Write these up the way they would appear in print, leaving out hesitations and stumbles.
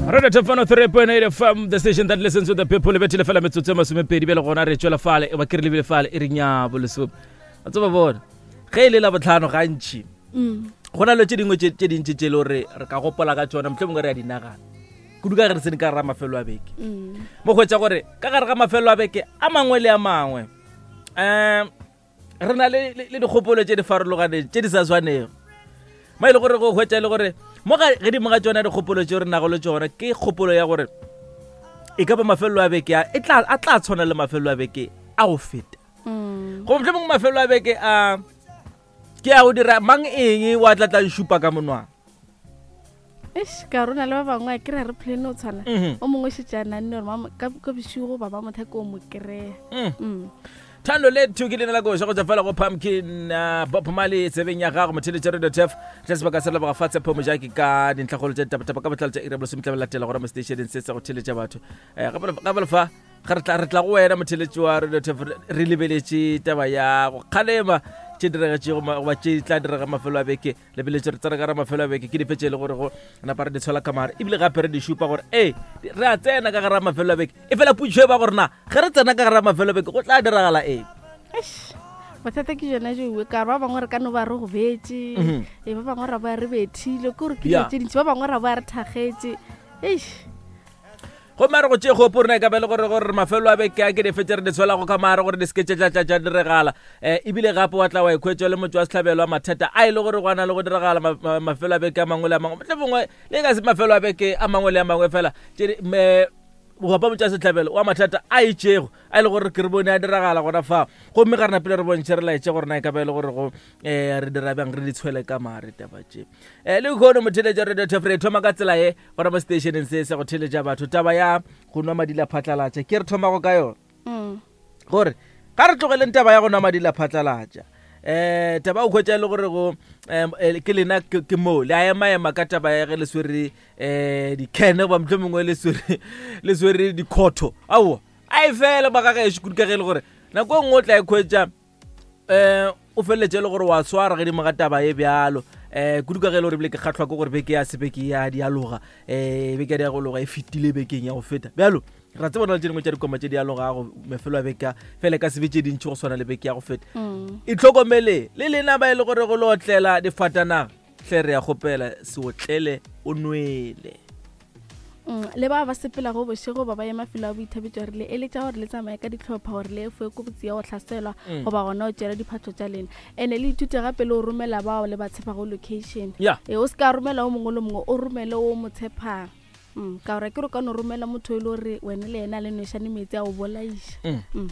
Radio Top 103.8 FM, the station that listens to the people. Le bethile fela metsotso e masomepedi bjale gona re tšwela fale e ba ke re lebile fale e re nyabo lesome. A tseba bona. Ge e le la botlhano gantši. Mm. Go na le tše dingwe tše tše dintši tše e le gore re ka gopola ka tšona mohlomongwe re a di nagana. Kudu ka ge re tsene ka gare ga mafelo a beke. Mm. Mo hwetša gore ka gare ga mafelo a beke a mangwe le a mangwe. Um re na le le dikgopolo tše di farologaneng tše di sa swanego mo e le gore go hwetša e le gore mo gedimo ga tšona dikgopolo tšeo re nago le tšona ke kgopolo ya gore e ka ba mafelelo a beke a e a tla tshwana le mafelelo a beke a go feta mm. go motlho mongwe mafelelo a beke a ke a go dira mang eng wa tla tla šupa ka monwana Eish, ka rona le ba bangwe a kry-a re plane o tshwana Mhm. o mongwe šetse a nanne gore mama- ka ka bošego ba ba mothaka o mo kry-a Mm. Mm. thando le two ke leina la koša go tswa fela go pumpkin uh, bob mali tsebeng ya gago motheletša radio tef tla sebaka sa leboga fa tshepo mojaki ka dintlhakgolo tša ditapatapa ka botlalo tša iri ya bolesometlame latela gona mo stationeng se sa go theletša batho um gape le fa ga re tla re tla go wena motheletši wa radio tef re lebeletše taba ya go kgalema tše diregetšego goba tše tla direga mafelo a beke lebeletše re tsena ka ra mafelo a beke ke dife tše e le gore go napa re di tshola ka mare ebile gape re di šupa gore ee re a tsena ka gara mafelo a beke e fela putšo e ba gore na ge re tsena ka gara mafelo a beke go tla diragala eng bothata ke jona joe ka ba bangwe re ka no ba re go betše mhm. ee ba bangwe ra ba re bethile ke gore ke dilo tše dintši ba bangwe ra ba re thakgetše eish Gomme a re go tšee kgopo rena e ka ba e le gore gore mafelo a beke a ke dife tše re di tshwelago ka mare gore di seke tše tša tša tša diregala um ebile gape wa tla wa ikhwetša le motho wa sehlabelo wa mathata a e le gore gwa na le go diragala mafelo a beke a mangwe le a mangwe mohlomongwe le ka se mafelo a beke a mangwe le a mangwe fela tše gopa motho wa sehlabelo wa mathata a itšego a e le gore ke re bone a diragala gona fa gomme ga re napile re bontšhe re laetše gore na e ka ba e le gore go um re dira bjang re di tshwele ka mare taba tše um le kgono motheletša radio tefre thoma ka tsela ye gona mo stationeng se sa go theletša batho taba ya go nwa madila phatlalatša ke re thomago ka yona mm. gore ga re tlogeleng taba ya go nwa madila phatlalatša eh taba o khwetša e le gore go eh, ke lena ke mo le a ema ema ka taba ya ge le swere eh dikhene goba motlho mongwe le swere le swere dikhotho aowa a e fela ba gagešo kudu ka ge e le gore nako e nngwe o tla e khwetša um o feleletše e le gore wa swara gedimo ga taba e bjalo um kudu ka ge e le gore ebile ke kgatlhwa ke gore beke ya se beke ya dialoga um beke ya dialoga e fetile bekeng ya go feta bjalo ra tseba na le tše dingwe tša dikoma tše di alogago mafelo a beka fele ka sebe tše dintšhi go swana le beke ya go feta mm. itlhokomele le lena ba e le gore go le otlela difatanaga hle re ya kgopela se otlele o nwele Mm, le ba ba sepelago bošego ba ba ye mafelo a boithabetšo re le eletša gore le tsamaye ka ditlhopha gore le efoe kotsi ya go hlaselwa mm. goba gona o tšere diphatlo tša lena and-e le ithute gape le o romela bao le ba tshepago location yeah. e o se ka romela o mongwe le mongwe o romele o mo tshepang mm, ka gore ke re ka no romela motho e le gore wena le yena le nwešane metsi a o bolaiša mm. mm.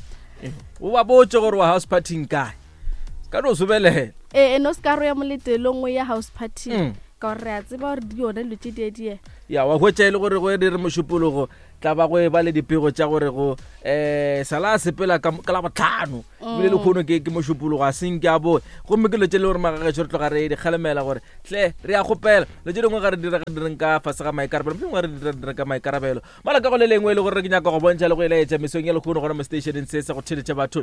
o ba botse gore wa house partyng kae ka no sobelela ee ene o se ka ro ya moletelong o ya house party mm. ka gore re a tseba gore di yone dilo tše die die ya wa hwetša e le gore go e re mošupologo tla ba go e ba le dipego tša gore go um sala a sepela ka ka labotlhano ebile le kgono ke ke mošupologo a senke a boe gomme ke dilo tše le gore magagešo re tloga re di kgalemela gore tle re ya kgopela dilo tše dingwe ga re dira direng ka fase ga maikarabelo mohlomongwe ga re dira direng ka maikarabelo mola ka go le lengwe e le gore ke nyaka go bontšha le go elaetša mesong ya lekgono gona mo stationeng se sa go theletša batho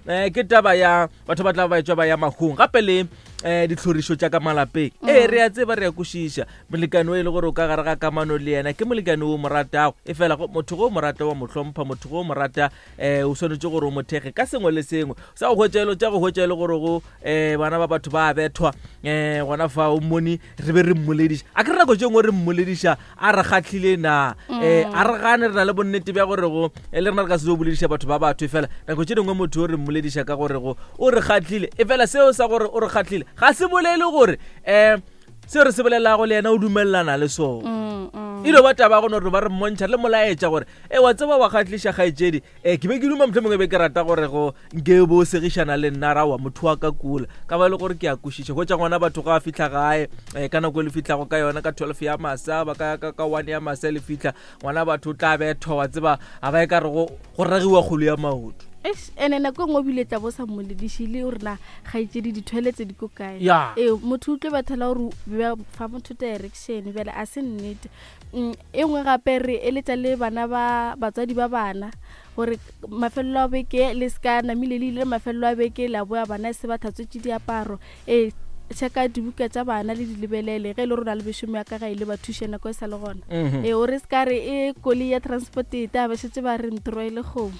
um ke taba ya batho ba tla ba etšwa ba ya mahung gape le um ditlhorišo tša ka malapeng mm. ee re a tseba re a kwešiša molekane o e le gore o ka gare ga kamano le yena ke molekane o mo ratago e fela motho go o mo rata wa mo hlompha motho go o mo rata um o swanetše gore o mo thekge ka sengwe le sengwe sa go hwetša elo tša go hwetša e le gore go um bana ba batho ba bethwa um gona fa o mmone re be re mmolediša a ke re nako tše nngwe re mmolediša a re kgatlhile na um a re gane re na le bonnete bja gore go eh, le rena re ka se o bolediša batho ba batho e fela nako tše dingwe motho o re mmolediša ka gore go o re kgatlhile e fela seo sa gore o re kgatlhile ga se bolele gore um seo re se bolelago le yena o dumelelana le sona mm, mm. e no ba taba go no re ba re mmontšha le molaetša gore e wa tseba wa kgatliša kgaetšedi e ke be ke duma mohlomongwe be ke rata gore go nke bo segišana le nna ra wa motho wa ka kula ka ba e le gore ke a kwešiša go tša ngwana batho ga a fitlha gae um ka nako e le fitlhago ka yona ka 12 ya masa ba ka ka 1 ya masa le fitlha ngwana batho o tla bethwa wa tseba ga ba e ka re go go ragiwa kgolo ya maoto Eish, ene nako e nngwe ebile tla bo sa mmoledišile o rena gaetšedi dithoeletse di ko kae Ya. ee motho o tlo bathela gore o fa motho direction bjale a se nnete Mm, e nngwe gape re eletša le bana ba batswadi ba bana gore mafelelo a beke le se ka namile le ile mafelelo a beke la boa bana e se ba tlhatswetše diaparo ee Checka dibuka tša bana le di lebelele ge e le gore o na le mešomo ya ka gae le ba thuše nako e sa le gona. Ee, o re se ka re e koloi ya transport e ta ba šetše ba re ntroele kgomo.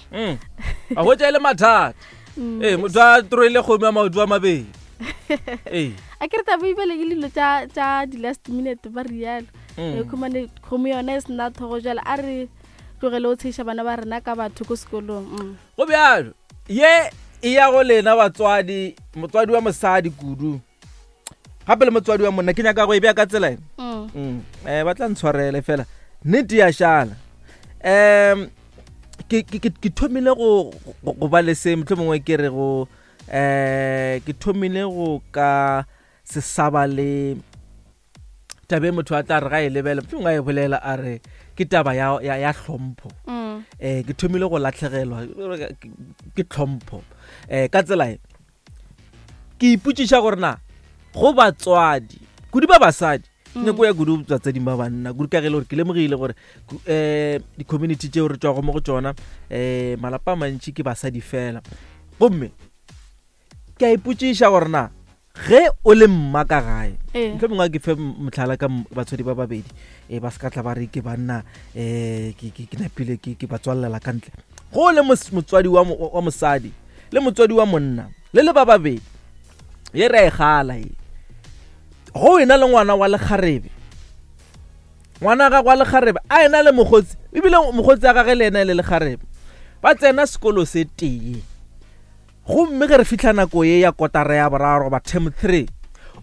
A hwetša e le mathata. Ee, motho a troele kgomo ya maoto a mabedi. Ee. A ke re taba ebele ke dilo tša tša di-last minute ba rialo. E khumane kgomo yona e sena thogo jale a re tlogele o tsheša bana ba rena ka batho ko sekolong. Go bjalo. Ye e ya go lena batswadi, motswadi wa mosadi kudu gape le motswadi wa monna. Ke nyaka go e bea ka tsela e. Ba tla ntshwarele fela nnete ya šala. Ke thomile go ba le se mohlomongwe mongwe ke re go ke thomile go ka se saba le tabe motho a tla re ga e lebele mohlomongwe a e bolela a re ke taba ya hlompho. Ke thomile go latlhegelwa ke tlhompho. Ka tsela e ke ipotšiša gore na go batswadi kudu ba basadi, nyako ya kudu batsading ba banna kudu, ka ge e le gore ke lemogile gore di-community tšeo re tšwago mo go tšona, malapa a mantši ke basadi fela. Gomme ke a ipotšiša gore na ge o le mma ka gae, mohlomongwe a ke fe mohlala ka batswadi ba babedi, ba se ka tla ba re ke banna, ke napile ke ba tswalela ka ntle. Go le motswadi wa mosadi le motswadi wa monna le le ba babedi, ye re a e gala ye, go ena le ngwana wa lekgarebe, ngwana gagwe wa lekgarebe a ena le mokgotsi, ebile mokgotsi a gage le ena e le lekgarebe, ba tsena sekolo se tee. Gomme ge re fihla nako ye ya kotara ya boraro goba term 3,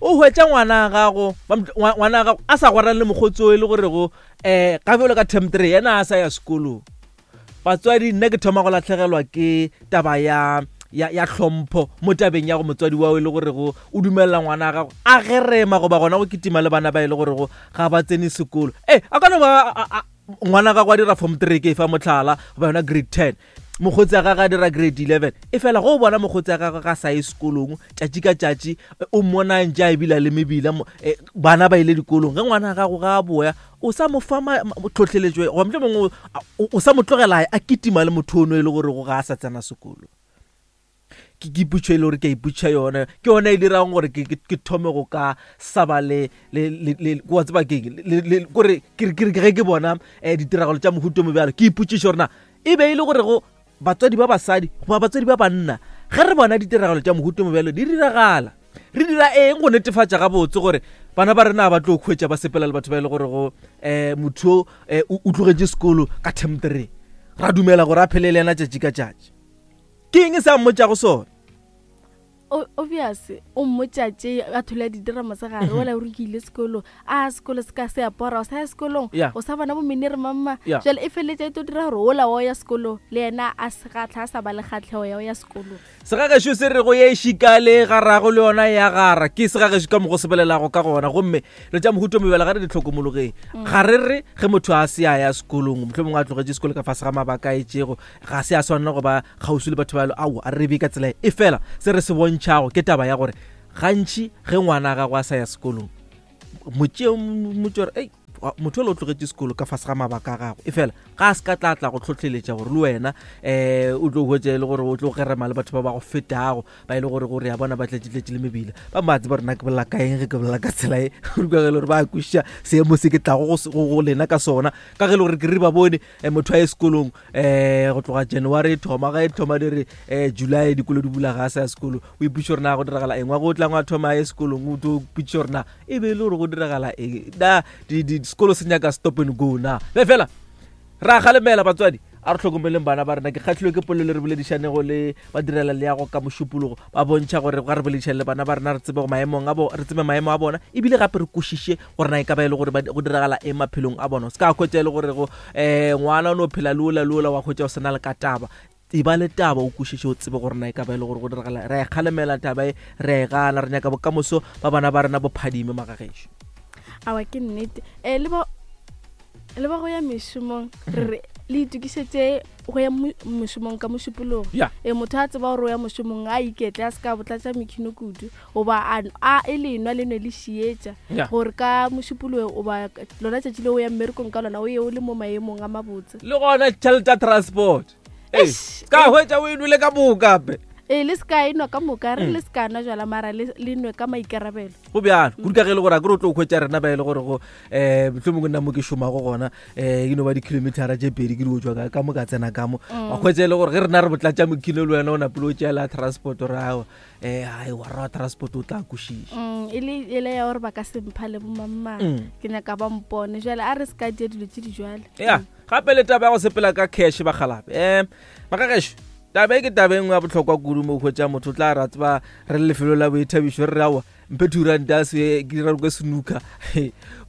o hwetša ngwana gago, ngwana gago a sa gwerane le mokgotsi o e le gorego ga bjalo ka term 3 yena a sa ya sekolong. Batswadi, nna ke thoma go latlhegelwa ke taba ya ya hlompho mo tabeng ya go motswadi wa o e le gorego o dumelela ngwana gago a gerema goba gona go kitima le bana ba e le gorego ga ba tsene sekolo. A ka no ba ngwana gago a dira form 3, ke e fa mohlala, goba yona grade 10, mokgotsi a gagwe a dira grade 11, e fela go o bona mokgotsi a gagwe ga sa ye sekolong tšatši ka tšatši, o mmona ntše a ebile le mebila, bana ba ile dikolong. Ge ngwana gago ga a boya, o sa mo fa tlhohleletšo, goba mohlomongwe o sa mo tlogela a kitima le motho ono e le gore go ga a sa tsena sekolo. Ke ipotšišo e le gore ke a ipotšiša yona, ke yona e dirang gore ke thome go ka saba le wa tseba keng, kore ke re ge ke bona ditiragalo tša mohuta o mobjalo, ke ipotšiša gore na e be e le gore go batswadi ba basadi goba batswadi ba banna, ge re bona ditiragalo tša mohuta o mobjalo di diragala, re dira eng go netefatša gabotse gore bana ba rena ba tlo hwetša ba sepela le batho ba e le gore go motho o o tlogetše sekolo ka term 3, ra dumela gore a phele le yena tšatši ka tšatši? Ke eng se a mmotšago sona? Obvious o mmotša tše a thola di dira mosegare, wela o re ke ile sekolong, a sekolo se ka se apora, o sa ya sekolong, o sa bona bomenere mamma. Jwale e feleletša e tlo dira gore ola wa o ya sekolong le yena a se gatlha, a sa ba le kgatlhego ya o ya sekolong. Segagešo se re go ye šikale garago le yona ya gara, ke segagešo ka mogo se bolelago ka gona. Gomme re tša mohuto mebela ga re di hlokomologeng. Ga re re ge motho a se a ya sekolong, mohlomongwe a tlogetše sekolo ka fase ga mabaka a itšego, ga se a swanela go ba kgauswi le batho ba, ao a re be ka tsela e. Fela se re se bontšhago ke taba ya gore gantši ge ngwana gago a sa ya sekolong, motšeo motšore ei motho o le o tlogetše sekolo ka fase ga mabaka a gago, e fela ga a se ka tla tla go tlhotlheletša gore le wena o tlo hwetša e le gore o tlo gerema le batho ba ba go fetago, ba e le gore gore ya bona ba tletšetletše le mebila. Ba ba tseba rena ke bolela ka eng ge ke bolela ka tsela e, ka ge e le gore ba kwešiša seemo se ke tlago go lena ka sona, ka ge e le gore ke re ba bone motho a ye sekolong go tloga January e thoma, ga e thoma di re July dikolo di bula, ga a sa ya sekolo, o ipotšiša gore na go diragala eng. Wa go tlang wa thoma a ye sekolong, o tlo ipotšiša gore na e be e le gore go diragala eng, na sekolo se nyaka stop and go na. Be fela ra galemela batswadi, a re hlokomeleng bana ba rena. Ke kgahlilwe ke polelo re boledišanego le badirela leago ka mošupologo, ba bontšha gore ga re boledišane le bana ba rena, re tsebe maemong a bo, re tsebe maemo a bona, ebile gape re kwešiše gore na e ka ba e le gore go diragala eng maphelong a bona. O se ka hwetša e le gore go ngwana o no phela le ola le ola, wa hwetša o sena le ka taba. E ba le taba, o kwešiše, o tsebe gore na e ka ba e le gore go diragala. Re a e kgalemela taba e, re a e gana, re nyaka bokamoso ba bana ba rena bo phadime magagešo. Awa ke nnete. Le ba le ba go ya mešomong, re re le itokišetše go ya mošomong ka mošupologo. Motho a tseba gore o ya mošomong, a iketle, a se ka botlatša mekhino kudu, goba a e lenwa le nwe le šietša, gore ka mošupologo goba lona tšatši le o ya mmerekong ka lona, o ye o le mo maemong a mabotse. Le gona tšhelete ya transport. Ka hwetša o e nwele ka moka gape. Ee, le se ka e nwa ka moka, re le se ka nwa jwala, mara le le nwe ka maikarabelo. Go bjalo kudu ka ge e le gore a kere o tlo hwetša rena ba e le gore go um mohlomongwe nna mo ke šomago gona um e no ba di-kilometera tše pedi ke di o tswa ka mo ka tsena ka mo, wa hwetša e le gore ge rena re botlatša mokhino le wena o napile o tšeela transport re awa um ai wa ra transport o tla kwešiša. E le e le ya gore ba ka se mpha le bomangmang, ke nyaka ba mpone jwale, a re se ka dia dilo tše di jwale. Ya, gape le taba ya go sepela ka cash bagalape, um magagešo, taba e ke taba e nngwe ya bohlokwa kudu mo hwetša motho o tla ra tseba re le lefelo la boithabišo re re aowa mphe 2 ranta se ke dira ko snooker,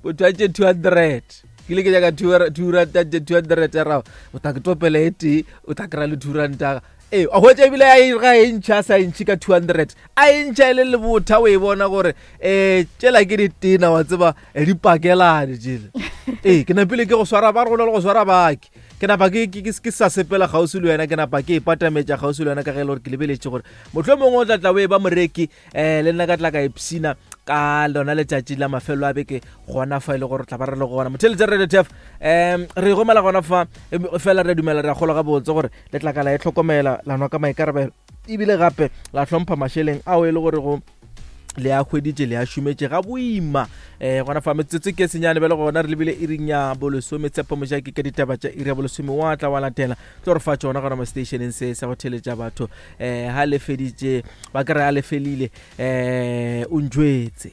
motho a tše 200, ke ile ke nyaka 2 ranta tše 200 ya rago o tla ke topela e tee o tla kry-a le 2 ranta. Ee, a hwetša ebile a e ga e ntšha a sa e ntšhe ka 200, a e ntšha e le lebotha, o e bona gore um tšela ke ditena wa tseba, di pakelane tšele. Ee, ke napile ke go swara ba re go na le go swara baki, ke napa ke ke ke sa sepela kgauswi le wena, ke napa ke ipatametša kgauswi le wena ka ge e le gore ke lebeletše gore mohlomongwe o tla tla o e ba moreki um le nna ka tla ka ipshina ka lona letšatši la mafelo a beke gona fa e le gore tla ba re le gona motheletša Radio Tf. Um re gomela gona fa fela re dumela re a kgolwa gabotse gore le tla ka la e tlhokomela, la nwa ka maikarabelo ebile gape la hlompha mašeleng ao e le gore go le a hweditše le a šometše ga boima. Um gona fa metsotso ke senyane bjale gona re lebile iring ya bolesome. Tshepo Mojaki ka ditaba tša iri ya bolesome wa tla wa latela tlo re fa tšona gona mo stationeng se sa go theletša batho. Um ha le feditše ba kry a le felile um o njwetse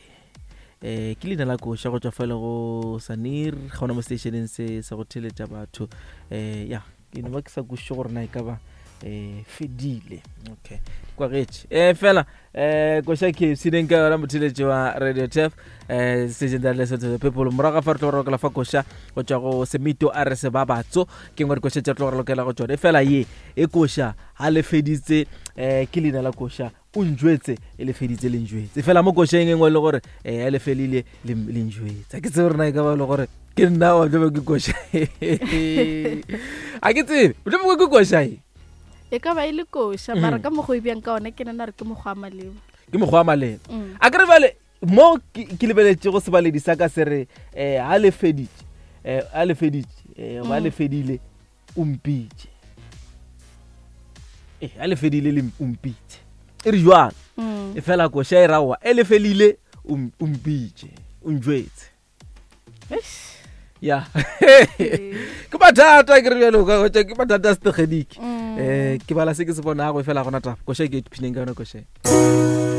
um ke leina la koša go tšwa fa le go Sanir gona mo stationeng se sa go theletša batho. Um ya ke no ba ke sa kwešiše gore na e ka ba um fedile. Okay, kwagetše um fela um koša KFC neng ka yona motheletši wa Radio Tf, um station that listen to the people. Morago ga fa re tlo go rokela fa koša go tšwa go Semito a re se ba batso ke ngwe dikoša tše re tlo go rokela go tšone fela ye e koša ha le feditse um ke leina la koša o njwetse e le feditse le njwetse fela mo košeng e nngwe e le gore um le felile le njwetse. Ke tsebe rena e ka ba e le gore ke nna wa tlobe ke koša, a ke tsebe mohlomongwe ke koša e. E ka ba e le koša, mara ka mokgwa o e bjang ka ona ke nana re ke mokgwa wa maleba. Ke mokgwa wa maleba. A ke re bale mo ke lebeletšego sebaledi sa ka se re um ha le feditše um ha le feditše um ba le fedile o mpitše, e a le fedile le o mpitše e re jwang. E fela koša e raowa e le felile o mpitše o njwetse. Eish. Ya, ke mathata ke re bjalo ka hwetša ke mathata a setegeniki. Um ke bala se ke se bonago e fela gona taba koša e ke ipshineng ka yona koša e.